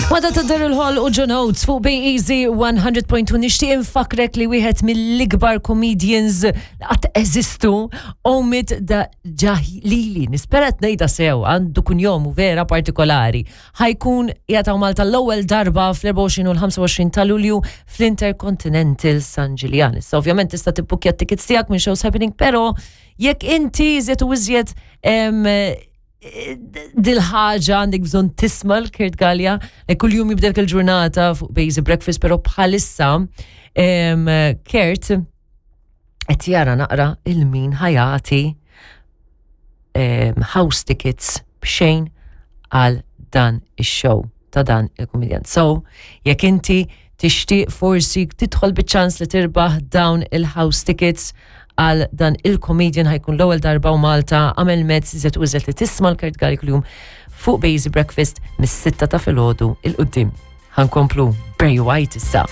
Wada ta' Daryl Hall u John Oates fuq Bay Easy 100.2 nixtieq infakrek li wieħed mill-ikbar comedians li qatt eżistu Omid da Ġahlili. Nispera qed ngħidha sew għandu kunjomu vera partikolari. Ħajkun qiegħed hawn Malta l-ewwel darba fl-24 u l-25 ta' Lulju fl-Intercontinental San Ġiljan. Issa ovvjament tista' tibbukja t-tickets tiegħek minn Shows Happening, però jekk inti iżjed u iżjed dil-ħaġa għandek bżonn tisma' l-Kurt Gallia, li kuljum jibdelk il-ġurnata fuq Basic Breakfast, però bħalissa Kurt qed jara naqra il-min ħajati house tickets b'xejn għal dan ix-show ta' dan il-kumedjant. So, jekk inti tixtieq forsi tidħol biċ-ċans li tirbaħ dawn il-house tickets għal dan il-comedian ħajkun l-ewwel darba u Malta għamel mezz iżjed u iżjed li tisma' l-Kurt Galli kuljum fuq Basic Breakfast mis-sitta ta' filgħodu il-qudiem. Ħankomplu Barry White issa.